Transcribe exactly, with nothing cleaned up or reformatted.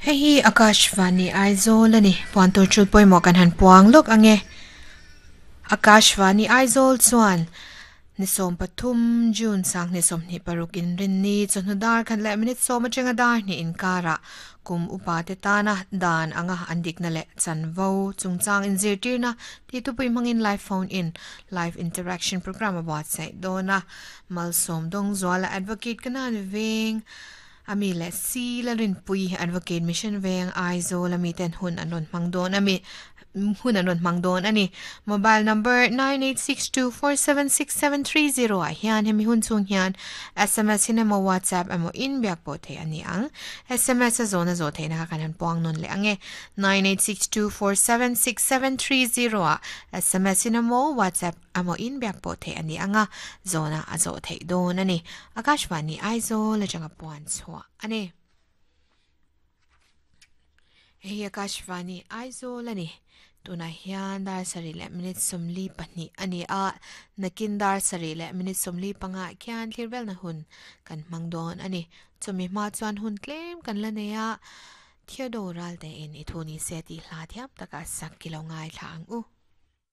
Hei hi Akashvani Aizawl a ni. Puan tur chul pawimawh kan han puang lawk ange. Akashvani Aizawl chuan ni sawm pathum June sang ni sawmhnih paruk inrinni chawhnu dar khat leh minute sawm atanga dar hnih inkarah kum upa te tana dan anga an dikna leh chanvo chungchang inzirtirna tih thupui hmangin live phone in live interaction program a buatsaih dawn a. Malsawm Dawngzuala Advocate Kanan Veng ami leh si la rinpui Advocate Mission Veng Aizawl ami ten hun an rawn hmang dawn ami hun an rawn hmang dawn a ni. Mobile number nine eight six two four seven six seven three zero ah hian hemi hun chhung hian S M S in emaw WhatsApp emaw in biak pawh theih a ni ang. S M S a zawhna zawh theihna kha kan han puang nawn leh ang e. nine eight six two four seven six seven three zero ah S M S in emaw WhatsApp emaw in biak pawh theih a ni ang a, zawhna a zawh theih dawn a ni. Akashvani Aizawl atanga puan chhuah a ni. Hei hi Akashvani Aizawl a ni. Tunah hian dar sarih leh minute sawmli pahnih a ni a, nakin dar sarih leh minute sawmli panga khian thlir velna hun kan hmang dawn a ni. Chumi hma chuan hun tlem kan la nei a, Theodore Ralte in i thu ni se tih hla thiam taka sak ki lo ngaithla ang u.